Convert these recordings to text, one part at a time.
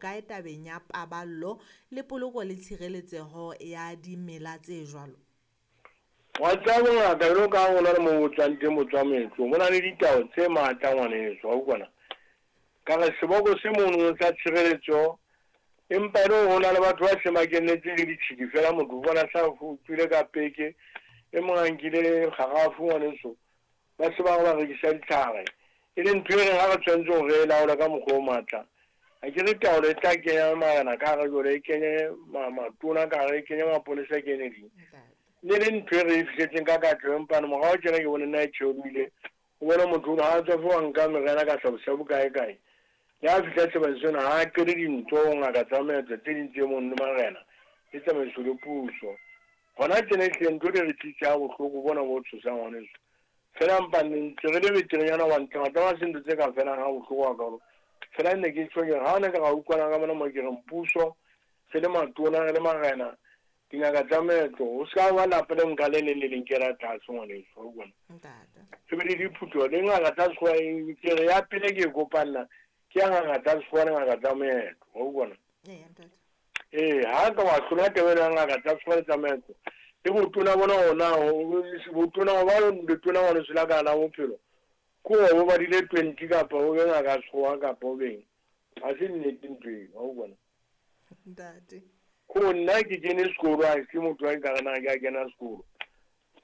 Kae tabeng ya paballo le poloko le tshireletseho ya dimela tse jwalo? Wa tseba bongaka jwalo ka ha hona le moo bo tswang teng bo tswa moetlong, bo na le ditao tse matla ngwaneso wa utlwa na. Ka re seboko se mono sa tshireletso empa e le hore ho na le batho ba seng ba kenetse le ditshidi fela motho o bona sa tswile ka peke e mong a nkile kgarafu ngwaneso ba se ba re ba rekisa ditlhare e le ntho e reng ha re tshwanetse hore re e laole ka mokgwa o matla. Akere taolo e tla kenya marena ka hare jwale e kenye matona ka hare e kenye maponesa e kenye ding. Ne le ntho e re e fihletseng ka katleho empa morao tjena ke bone nna e theohile. O bone motho ha a tswa fo wa nka meriana ka shabu-shabu kae kae. Le ha fihla sebakeng sena ha a qele dintho ho ngaka tsa meetlo tse ding tse mono le marena le tsamaiso le puso. Hona tjena ehlile ntho di re tlisa ha bohloko bona bo tshosang ngwaneso. Fela mpa ne ntse re le beterenyana hobane tlamatlama se ntho tse ka felang ha bohloko hakalo. Fela ne ke tjho ke re ha ne ka ra utlwana ka mona mo ke reng puso re le matona re le marena dingaka tsa meetlo ho ska ba lapa le nka le leng le leng kela tlase ngwaneso wa utlwa. Re be le diphutho le ngaka tsa sekgowa ke re ya pele ke e kopanna ke ya ngaka tsa sekgowa le ngaka tsa meetlo wa utlwa. Ee, ha ka wa hlola taba ena ya ngaka tsa sekgowa le tsa meetlo le botona bona ona botona ho ba letona ngwaneso la ka la bophelo ke hore o badile 20 kapa o be ngaka ya sekgowa kapa o beng ha se nnete ntho eo wa utlwa. Ntate. Ko nna ke kene sekolo ha ke motho wa nkare na ke a kena sekolo.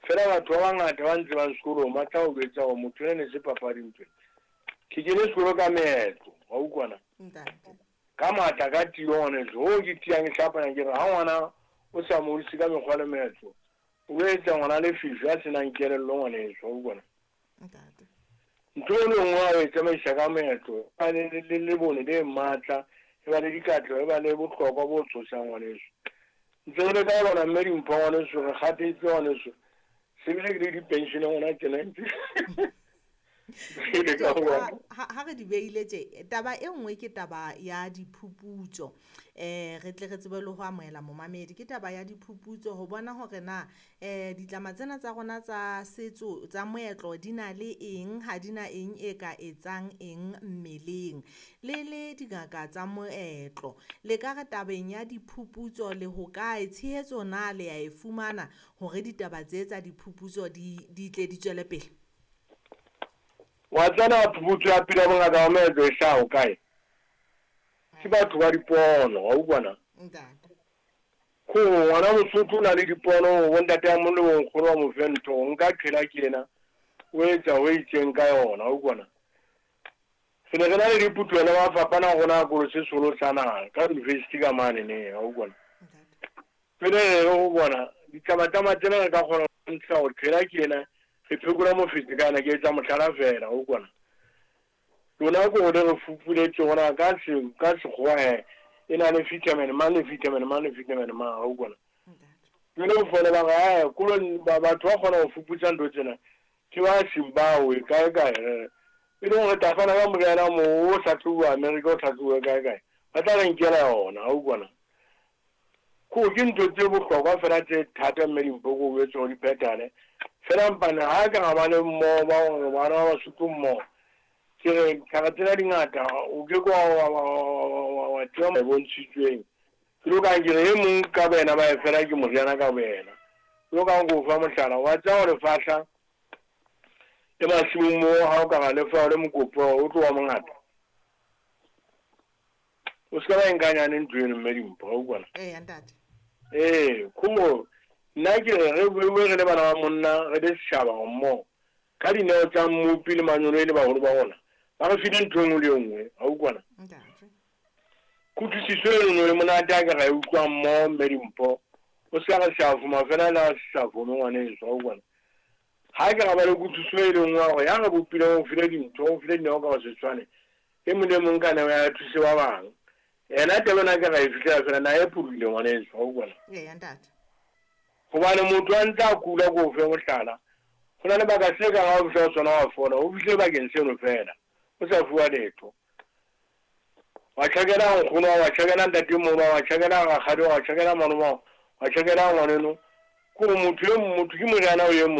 Fela batho ba bangata ba ntsebang sekolong ba tla o jwetsa hore motho ena ne se papadi ntho ena. Ke kene sekolo ka meetlo wa utlwa na. Ntate. Ka matla ka tiyo ngwaneso hoo ke tiyang ke hlapanya ke re ha ngwana o sa mo hodise ka mekgwa le meetlo o etsa ngwana lefifi a senang kelello ngwaneso wa utlwa na. Ntate. Ntho e le nngwe ha o e tsamaisa ka meetlo e ba le lebone le matla e ba le dikatleho e ba le bohlokwa bo tshosang ngwaneso. Ntse re le ka lona mme dimpho ngwaneso re kgathetse ngwaneso se bile ke le di-pensioneng hona tjena ntse ha re di beile tje taba e nngwe ke taba ya diphuputso re tle re tsebe le ho amohela momamedi ke taba ya diphuputso ho bona hore na ditlama tsena tsa rona tsa setso tsa moetlo di na le eng ha di na eng e ka etsang eng mmeleng le le dingaka tsa moetlo le ka re tabeng ya diphuputso le ho kae tshehetso na le ya e fumana hore ditaba tse tsa diphuputso di tle di tswele pele. Wa tsena phuputso ya pele ya bongaka ba meetlo e hlaha ho kae? Ke batho ba dipono wa utlwa na. Ntate. Ko ngwana Mosotho o na le dipono bo ntate a mong le bo nkgono ba mo fe ntho nka qhela ke ena o etsa ho itseng ka yona wa utlwa na. Re ne re na le diphutuho le mafapha a rona a kolo se seholo sa naha ka university ka mane ne wa utlwa na. Pele re re ho bona ditlamatlama tsena re ka kgona ho ntsha hore qhela ke ena re phekola mofetshe ka yona ke etsa mohlala fela wa utlwa na. Lona ko le re fupuletse hona ka se ka sekgowa he e na le vitamin mang le vitamin mang le vitamin mang wa utlwa na. Jwale o fole ba re ae kolo batho ba kgona ho fuputsa ntho tsena ke ba Zimbabwe kae kae e leng hore tla fana ka moriana moo o hlahlobuwa America o hlahlobuwe kae kae ba tla re nkela yona wa utlwa na. Ko ke ntho tse bohlokwa fela tse thata mme dimpho ko o jwetse hore di phethahale fela mpane ha ka ra ba le mmoho ba hore bana ba Basotho mmoho ke re ditlhare tsena di ngata o ke ke wa tseba bontshitsweng ke lo kang ke re e mong ka boyena ba e fela ke moriana ka boyena lo kang ko fa mohlala wa tseba hore lefahla le masimong moo ha o ka ra lefa le mokopo o tlo wa mongata o se ka ba nkanyane ntho eno mme dimpho wa utlwa na. Ee ntate. Ee khumo nna ke re re bue re le bana ba monna re le setjhaba mmoho ka dineo tsa mmopi le manyolo e le baholo ba rona ba re file ntho e nngwe le e nngwe wa utlwa na. Ntate. Kutlwisiso eno e monate ha ke ra e utlwa mmoho mme dimpho o se ka re sa fela le ha se sa fome ngwaneso wa utlwa na. Ha ke ra ba le kutlwisiso e le nngwe hore ya re bopileng o file dintho o file dineo ka ho se tshwane e mong le mong ka neo ya thuse ba bang yena taba ena ke ra e fihlela fela na e pholohile ngwaneso wa utlwa na. Ee ntate. Hobane motho a ntse a kula ko fe mohlala ho na le baka se kang ha o fihla ho sona wa fola o fihle bakeng seno fela o sa fuwa letho. Wa tjhakela nkgono wa tjhakela ntatemoholo wa tjhakela rakgadi wa tjhakela malome wa tjhakela ngwaneno ko motho e motho ke moriana o e mong.